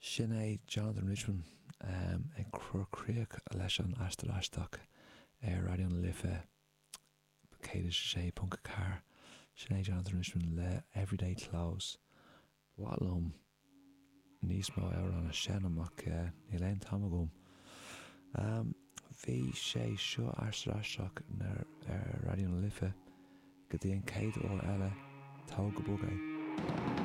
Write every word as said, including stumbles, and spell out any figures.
Sin é Jonathan Richman um, ag cur críoch leis an Aistear Aisteach ar Raidió na Life céad a sé ponc ceathair sin é Jonathan Richman le Everyday Clothes. Ba mhaith liom níos mó amhrán a sheinm ach uh, níl aon t-am agam. Um, bhí sé seo Aistear Aisteach ar ar Raidió na Life go dtí an chéad uair eile tóg go bog é.